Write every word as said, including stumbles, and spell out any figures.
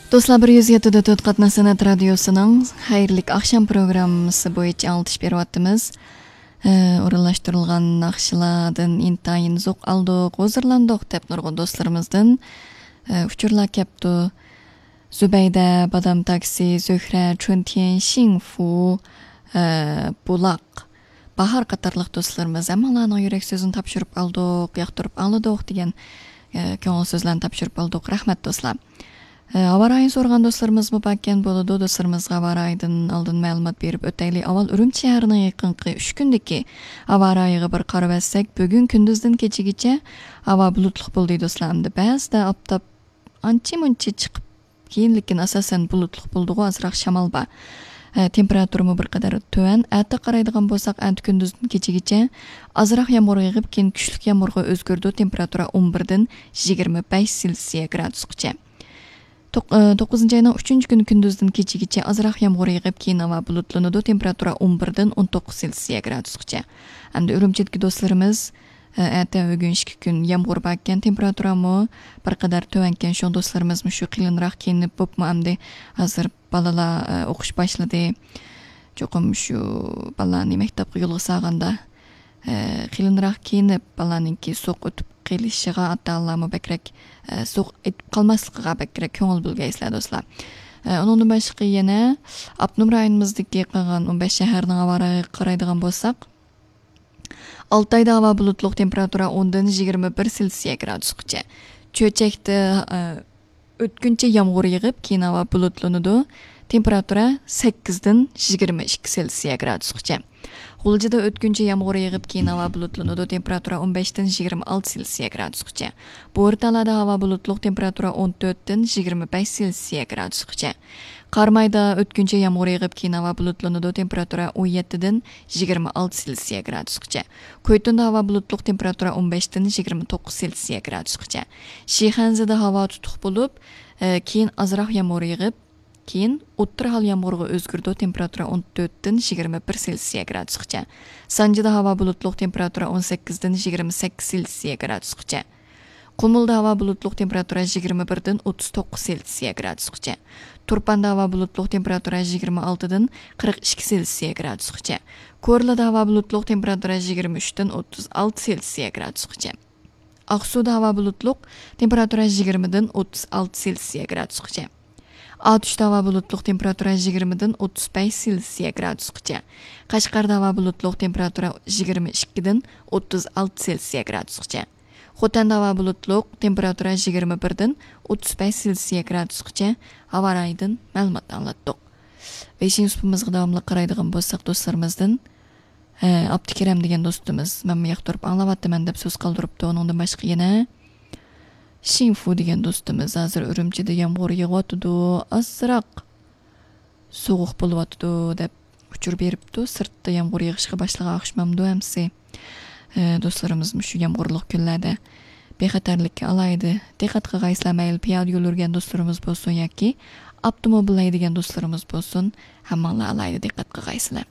دوستلار، بىر يۈز يەتتە دە تۆت قاتناش سەنئەت رادىيوسىنىڭ خەيرلىك ئاخشام پروگراممىسى بويىچە ئاڭلىتىش بېرىۋاتىمىز. ئە، ئورۇنلاشتۇرۇلغان ناخشىلاردىن ئىنتايىن زوق ئالدۇق، ھۇزۇرلاندۇق دەپ نۇرغۇن دوستلىرىمىزدىن، ئە، ئۇچۇرلار كەپتۇ. زۇبەيدە، بادام تاكسى، زۆھرە، چۈنتيەن، شىڭفۇ، ئە، بۇلاق، باھار قاتارلىق دوستلىرىمىز ھەممىڭلارنىڭ يۈرەك سۆزىنى تاپشۇرۇپ ئالدۇق، ياقتۇرۇپ ئاڭلىدۇق دېگەن، ئە، كۆڭۈل سۆزلەرنى تاپشۇرۇپ ئالدۇق. رەھمەت دوستلار. ئە، ھاۋا رايىنى سورىغان دوستلىرىمىزمۇ باركەن، بولىدۇ. دوستلىرىمىزغا ھاۋا رايىدىن ئالدىن مەلۇمات بېرىپ ئۆتەيلى. ئاۋۋال ئۈرۈمچى شەھىرىنىڭ يېقىنقى ئۈچ كۈندىكى ھاۋا رايىغا بىر قارىۋەتسەك، بۈگۈن كۈندۈزدىن كېچىگىچە ھاۋا بۇلۇتلۇق بولدى دوستلار. ئەمدى بەزىدە ئاپتاپ ئانچە-مۇنچە چىقىپ، كېيىن لېكىن ئاساسەن بۇلۇتلۇق بولىدىغۇ، ئازراق شامال بار. ئە، تېمپېراتۇرىمۇ بىر قەدەر تۆۋەن. ئەتە قارايدىغان بولساق، ئەتە كۈندۈزدىن كېچىگىچە ئازراق يامغۇر يېغىپ، كېيىن كۈچلۈك يامغۇرغا ئۆزگىرىدۇ. تېمپېراتۇرا ئون بىردىن يىگىرمە بەش سېلسىيە گرادۇسقىچە. توق-، ئە، توققۇزىنچى ئاينىڭ ئۈچىنچى كۈنى كۈندۈزدىن كېچىگىچە ئازراق يامغۇر يېغىپ، كېيىن ھاۋا بۇلۇتلىنىدۇ. تېمپېراتۇرا ئون بىردىن ئون توققۇز سېلسىيە گرادۇسقىچە. ئەمدى ئۈرۈمچىدىكى دوستلىرىمىز، ئە، ئەتە بۈگۈن ئىككى كۈن يامغۇر باركەن، تېمپېراتۇرامۇ بىر قەدەر تۆۋەنكەن. شۇڭا دوستلىرىمىزمۇ شۇ قېلىنراق كىيىنىپ بوپمۇ ئەمدى ھازىر بالىلار، ئە، ئوقۇش باشلىدى. چوقۇم شۇ بالىلارنى مەكتەپكە يولغا سالغاندا، ئە، قېلىنراق كىيىنىپ، بالىلارنىڭكى سوغۇق ئۆتۈپ قېلىشىغا ئاتا-ئانىلارمۇ بەكرەك، ئە، سوغۇق ئېتىپ قالماسلىقىغا بەكرەك كۆڭۈل بۆلگەيسىلەر دوستلار. ئە، ئۇنىڭدىن باشقا يەنە ئاپتونوم رايونىمىزدىكى قالغان ئون بەش شەھەرنىڭ ھاۋا رايىغا قارايدىغان بولساق، ئالتايدا ھاۋا بۇلۇتلۇق، تېمپېراتۇرا ئوندىن يىگىرمە بىر سېلسىيە گرادۇسقىچە. چۆچەكتە، ئە، ئۆتكۈنچە يامغۇر يېغىپ، كېيىن ھاۋا بۇلۇتلىنىدۇ. تېمپېراتۇرا سەككىزدىن يىگىرمە ئىككى سېلسىيە گرادۇسقىچە. غۇلجىدا ئۆتكۈنچە يامغۇر يېغىپ، كېيىن ھاۋا بۇلۇتلىنىدۇ. تېمپېراتۇرا ئون بەشتىن يىگىرمە ئالتە سېلسىيە گرادۇسقىچە. بورتالادا ھاۋا بۇلۇتلۇق، تېمپېراتۇرا ئون تۆتتىن يىگىرمە بەش سېلسىيە گرادۇسقىچە. قارامايدا ئۆتكۈنچە يامغۇر يېغىپ، كېيىن ھاۋا بۇلۇتلىنىدۇ. تېمپېراتۇرا ئون يەتتىدىن يىگىرمە ئالتە سېلسىيە گرادۇسقىچە. كويتۇندا ھاۋا بۇلۇتلۇق، تېمپېراتۇرا ئون بەشتىن يىگىرمە توققۇز سېلسىيە گرادۇسقىچە. شىخەنزىدە ھاۋا تۇتۇق بولۇپ، ئە، كېيىن ئازراق يامغۇر يېغىپ، كېيىن ئوتتۇرا ھال يامغۇرغا ئۆزگىرىدۇ. تېمپېراتۇرا ئون تۆتتىن يىگىرمە بىر سېلسىيە گرادۇسقىچە. سانجىدا ھاۋا بۇلۇتلۇق، تېمپېراتۇرا ئون سەككىزدىن يىگىرمە سەككىز سېلسىيە گرادۇسقىچە. قۇمۇلدا ھاۋا بۇلۇتلۇق، تېمپېراتۇرا يىگىرمە بىردىن ئوتتۇز توققۇز سېلسىيە گرادۇسقىچە. تۇرپاندا ھاۋا بۇلۇتلۇق، تېمپېراتۇرا يىگىرمە ئالتىدىن قىرىق ئىككى سېلسىيە گرادۇسقىچە. كورلىدا ھاۋا بۇلۇتلۇق، تېمپېراتۇرا يىگىرمە ئۈچتىن ئوتتۇز ئالتە سېلسىيە گرادۇسقىچە. ئاقسۇدا ھاۋا بۇلۇتلۇق، تېمپېراتۇرا يىگىرمىدىن ئوتتۇز ئالتە سېلسىيە گرادۇسقىچە. ئاتۇشتا ھاۋا بۇلۇتلۇق، تېمپېراتۇرا يىگىرمىدىن ئوتتۇز بەش سېلسىيە گرادۇسقىچە. قەشقەردە ھاۋا بۇلۇتلۇق، تېمپېراتۇرا يىگىرمە ئىككىدىن ئوتتۇز ئالتە سېلسىيە گرادۇسقىچە. خوتەندە ھاۋا بۇلۇتلۇق، تېمپېراتۇرا يىگىرمە بىردىن ئوتتۇز بەش سېلسىيە گرادۇسقىچە ھاۋا رايىدىن مەلۇمات ئاڭلاتتۇق. بېشىنچى سۇپىمىزغا داۋاملىق قارايدىغان بولساق، دوستلىرىمىزدىن، ئە، ئابدۇكېرەم دېگەن دوستىمىز، مەنمۇ ياقتۇرۇپ ئاڭلاۋاتىمەن دەپ سۆز قالدۇرۇپتۇ. ئۇنىڭدىن باشقا يەنە شىڭفۇ دېگەن دوستىمىز، ھازىر ئۈرۈمچىدە يامغۇر يېغىۋاتىدۇ، ئازراق سوغۇق بولۇۋاتىدۇ دەپ ئۇچۇر بېرىپتۇ. سىرتتا يامغۇر يېغىشقا باشلىغان ئوخشىمامدۇ ئەمسە؟ ئە، دوستلىرىمىز مۇشۇ يامغۇرلۇق كۈنلەردە بىخەتەرلىككە ئالاھىدە دىققەت قىلغايسىلەر. مەيلى پىيادە يول يۈرگەن دوستلىرىمىز بولسۇن ياكى ئاپتوموبىل ھەيدىگەن دوستلىرىمىز بولسۇن، ھەممىڭلار ئالاھىدە دىققەت قىلغايسىلەر.